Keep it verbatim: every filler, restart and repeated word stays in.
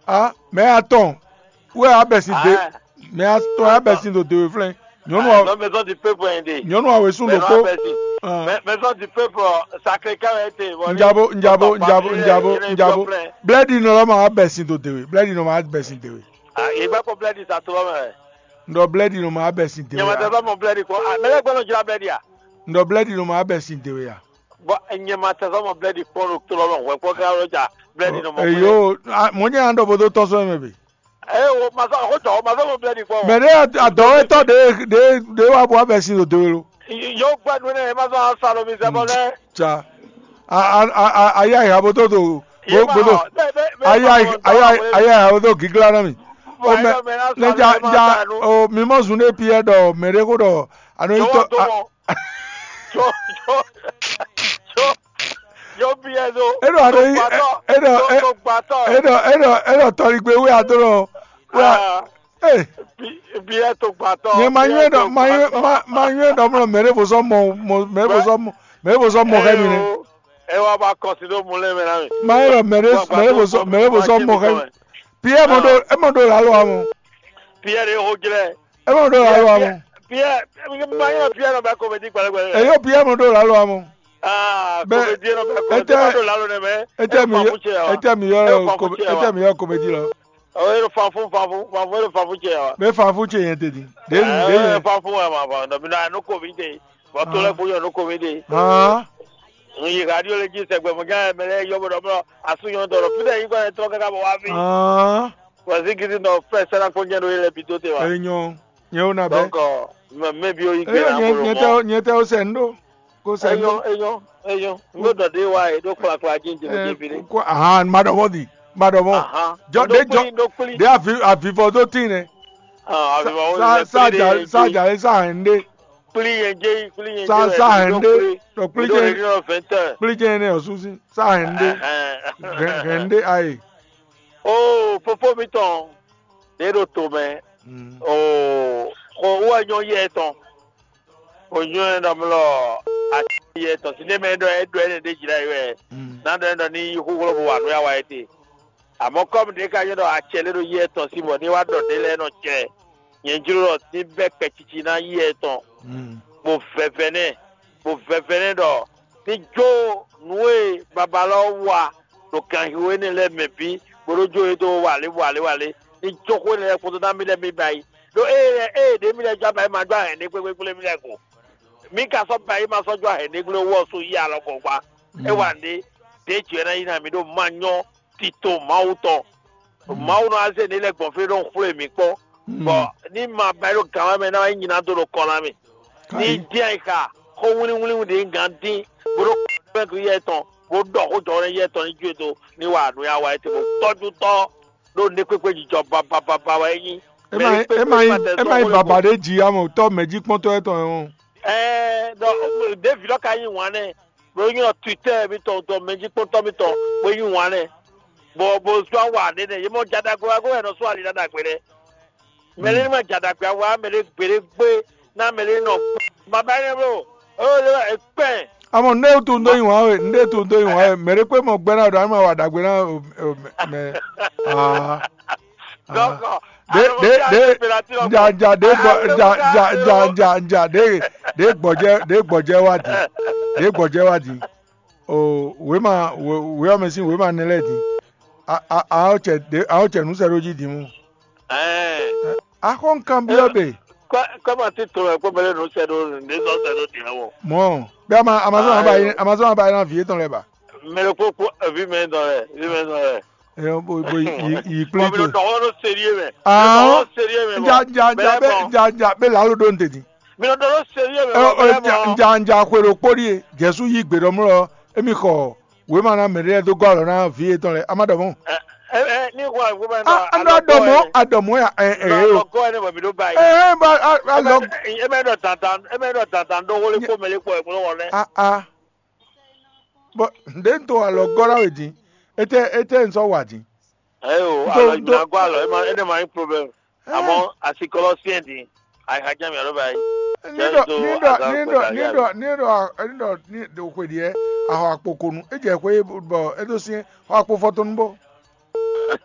Ah, mɛ atɔn wɛ abɛsin de, mɛ atɔn abɛsin ɖo dewe flɛn. Nyɔnu a, non, maison du peuple aidé. Nyɔnu a wesún ɖokpó. Maison du peuple, Sacré-Cœur été. Njabo, njabo, njabo, njabo, njabo. Blɛdi nɔ lɔ ma abɛsin ɖo dewe. Blɛdi nɔ ma abɛsin dewe. Ah, il va pour blɛdi sa to lɔ mɛ. Ndɔ blɛdi nɔ ma abɛsin dewe. Nyama tɛ sɔ mɔ blɛdi ko. Ah, mɛ lɛ gbɛnɔ jira blɛdi a. Ndɔ blɛdi nɔ ma abɛsin dewe a. Bɔ nyama tɛ sɔ mɔ blɛdi kpɔn ɖo to lɔ mɛ. Wɛ kpɔ gra lɔ ja blɛdi nɔ mɔ. Eyo, mɔ nyɛ an ɖɔ bo dó tɔn sɔ mɛ be. Eye wo ma zɔn xó jɔ, wo ma zɔn mo blɛ́ ɖi kpɔ́n. Mɛ ɖé adɔwɛtɔ ɖé ɖé ɖé wá bɔ abɛ sin ɖo do lo. Yóò gbɛ́ nú nɛ, ma zɔn sa ɖo mi zɛ bɔ lɛ. Tsa. A a a a ayi ayi abo tó do. Bo bo do. Ayi ayi ayi ayi ayi abo tó gíglá ná mi. O mɛ ne ja ja o mi mɔ zun ne piɛ ɖɔ mɛ ɖé ko ɖɔ ano yi tɔ. Yo yo yo yo biɛ do. Eɖɔ aɖe yi eɖɔ eɖɔ eɖɔ eɖɔ tɔligbe wɛ adó lɔ wɛ. Ee. Biɛ to gbatɔ. Nyɛ ma nyɔɛ ɖɔ ma nyɔɛ ma ma nyɔɛ ɖɔ mlɔ mɛ ɖe bosɔ mɔ mɔ mɛ ɖe bosɔ mɔ mɛ ɖe bosɔ mɔ xɛ mi nɛ. Ɛ wa ba kɔsi ɖo mu lɛ mɛ na mi. Ma nyɔɛ ɖɔ mɛ ɖe mɛ ɖe bosɔ mɛ ɖe bosɔ mɔ xɛ mi. Piɛ mɔ ɖo e mɔ ɖo lalo amɔ. Piɛ ɖe ho jlɛ. E mɔ ɖo lalo amɔ. Piɛ ma nyɔɛ piɛ nɔ bɛ komedi gbɛlɛgbɛlɛ. Eyo piɛ mɔ ɖo lalo amɔ. Aa komedi nɔ bɛ komedi ma ɖo lalo nɛ mɛ. Etɛ mi yɔ etɛ mi yɔ etɛ mi yɔ komedi lɔ. Ɔ e ɖo fanfún fanfún fanfún e ɖo fanfún cɛ wa. Bɛ fanfún cɛ yẹn tɛ di. De de yẹn. Fanfún wɛ ma bɔ nɔ mi na nu ko mi de. Bɔ to lɛ ko yɔ nu ko mi de. Hàn. N yi radio le ji sɛgbɛ mo nya mɛ lɛ yɔ bɔ dɔ mɔ asu yɔ dɔ fi dɛ yi gbɛ trɔ kaka bɔ wa fi. Hàn. Wɔ si gidi nɔ fɛ sɛnɛ ko nyɛ do yi lɛ bi do te wa. Enyɔ nyɛ wo na bɛ. Donc mɛ mɛ bi o yi gbe na mo lɔ mɔ. Nyɛ tɛ o sɛ n do. Ko sɛ n do. Enyɔ enyɔ enyɔ. N do dɔ de wa yi do kplakpla ji n jɛ mo ji fi de. Ko ahan ma dɔ mɔ di ma dɔ mɔ. Ahan. Jɔ de jɔ de avi avivɔ do tin nɛ. Ah avivɔ wo sa sa ja sa ja sa hɛn de. Kpli yẹn jẹ́ kpli yẹn jẹ́ sa sa hɛn de. Dɔ kpli jɛ kpli jɛ ne ɔsu si sa hɛn de. Hɛn de ayi. Oo fofó mitɔn ɖě ɖo to mɛ. Oo xɔ wá nyɔ yɛ tɔn. O nyɔ ɛ nɔ mlɔ ati yɛ tɔn si ne mɛ ɖɔ ɛ ɖɔ ɛnɛ ɖe jira yi wɛ. Na ɖɔ ɛ ɖɔ ni yi xúxló bo wa nú ya wa yɛ te. Àmọ́ kɔ́mu ɖě ka nyɔ́ ɖɔ acɛ lé ɖo yí etɔn sí bɔ ní wá ɖɔ ɖě lɛ́ɛ nɔ jɛ nyɛ jló ɖɔ ní bɛ́ kpɛcici ná yí etɔn, bó vɛvɛ nɛ́, bó vɛvɛ nɛ́ ɖɔ ní jó nǔ e babalɔ́ wa ɖo ganxixo énɛ́ lɛ́ɛ mɛ bǐ, bó ɖó jó yě dó walě walě walě, ní jó xó énɛ́ lɛ́ɛ kpódó ná mì lɛ́ɛ mì ba yi. Ɖó ée lɛ́ɛ ée ɖě mì lɛ́ɛ jó aba é ma jó ahɛ̌nɖé gbégbégbé mì lɛ́ɛ ko. Mì ka sɔ́ ba é ma sɔ́ jó ahɛ̌nɖé gblé wú ɔ́ sú yí alɔ gɔ̌gbá. É wa nǔɖé, ɖěe jǐ wɛ ná yi ná mì ɖó ma nyɔ́ tito Mawu tɔn. Mawu nɔ azé ní lɛ́ gbɔn fí ɖó xwlé mǐ kpɔ́n, bɔ ní ma ba ɖó gǎn mɛ ná wá nyí ná dó ɖo kɔ ná mì. Ní dín ayi xa xó wlíwlí ɖě gǎn dín, bó ɖó kɔ́mɛ́gú yɛ tɔn, bó ɖɔ xó jɔhɔn yɛ tɔn ní jó do ní wa nǔ ya wa etí bó tɔ́jú tɔ́ ɖó nɛ́kpékpé jijɔ babababa wɛ é nyí. É má nyí é má nyí é má nyí baba ɖé jǐ amɔ tɔ́ mɛ̌ jí kpɔ́ntɔ́ yɛ tɔn ɔ́. Ɛɛ ɖɔ ɖěvi ɖɔ ka nyí wǎn nɛ. Bó nyí ɔ Twitter mi tɔn tɔn mɛjikpɔ́ntɔ́ mi tɔn bó nyí wǎn nɛ. Bɔ bó zɔ́n wa ɖé nɛ yě mɔ jadagbe wá gó wɛ nɔ sɔ́ ali ná ɖagbe nɛ. Mɛ lé ní ma jadagbe awa mɛ lé gběɖé gbé ná mɛ lé nɔ ma ba énɛ́ bló. Ó lé wɛ kpɛn. Amɔ nɖé wútu ndo nyi wǎn we nɖé wútu ndo nyi wǎn we mɛ ɖé kpé mɔ gbɛ́ ná ɖo ánú ma wa ɖagbe ná mɛ aa. Dɔkɔ. Ɖe ɖe ɖe ja ja ɖe gbɔ ja ja ja ja ja ɖe ɖe gbɔjɛ ɖe gbɔjɛ wa di ɖe gbɔjɛ wa di. O wema wema mɛ sin wema ne lɛ di. A a a o cɛ ɖe a o cɛ nu sɛ ɖo ji di mu. Ɛɛ. Axɔ nkan biɔ be. Kɔma ti to wɛ kpɔ bɛlɛ nu sɛ ɖo ne zɔ sɛ ɖo di wɔ. Mɔ bɛ ama amazɔn aba yi amazɔn aba yi na vi etɔn lɛ ba. Mɛ ɖokpó kpó evi mɛ dɔn lɛ evi mɛ dɔn lɛ. Ɛ bo bo yi yi kpli to. Dɔwɔ ɖo sérieux mɛ. Ahɔn dɔwɔ sérieux mɛ. Ja ja ja bɛ ja ja bɛ lalo ɖo ntɛdi. Mi nɔ dɔwɔ sérieux mɛ. Ɛ ɛ ja ja ja xwe ɖo kpóɖi e Jɛsu yí gbe ɖɔ mlɔ emi xɔ wema na mɛ ɖe dó gɔ́ alɔ na vi etɔn lɛ ama ɖɔ mɔ. Ɛ ɛ ní xɔ wema na. An ɖɔ mɔ aɖɔ mɔ ya ɛ ɛ o. Lɔ gɔ́ ɛnɛ bɔ mi ɖo ba yi. Ɛ ɛ ba alɔ. Ɛ mɛ ɖɔ dandan ɛ mɛ ɖɔ dandan ɖo wole kpó mɛ lé kpɔ ɛ kpó wɔ lɛ. A a. Bɔ ɖě un to alɔ gɔ́ ná we din, étɛ́ étɛ́ un sɔ́ wa din? Ayo, alɔ nyina gɔ́ alɔ, é ma é ne ma nyí problème. Àmọ́ asikɔlɔ siɛn din, àyíká jẹ́ mi aló báyìí. Ní ɖɔ ní ɖɔ ní ɖɔ ní ɖɔ ní ɖɔ ní ɖɔ ní ɖo xwe ɖiɛ ahɔ akpo konu, é jɛ xwe bɔ é ɖó syɛn xɔ akpo fɔtɔnu bó.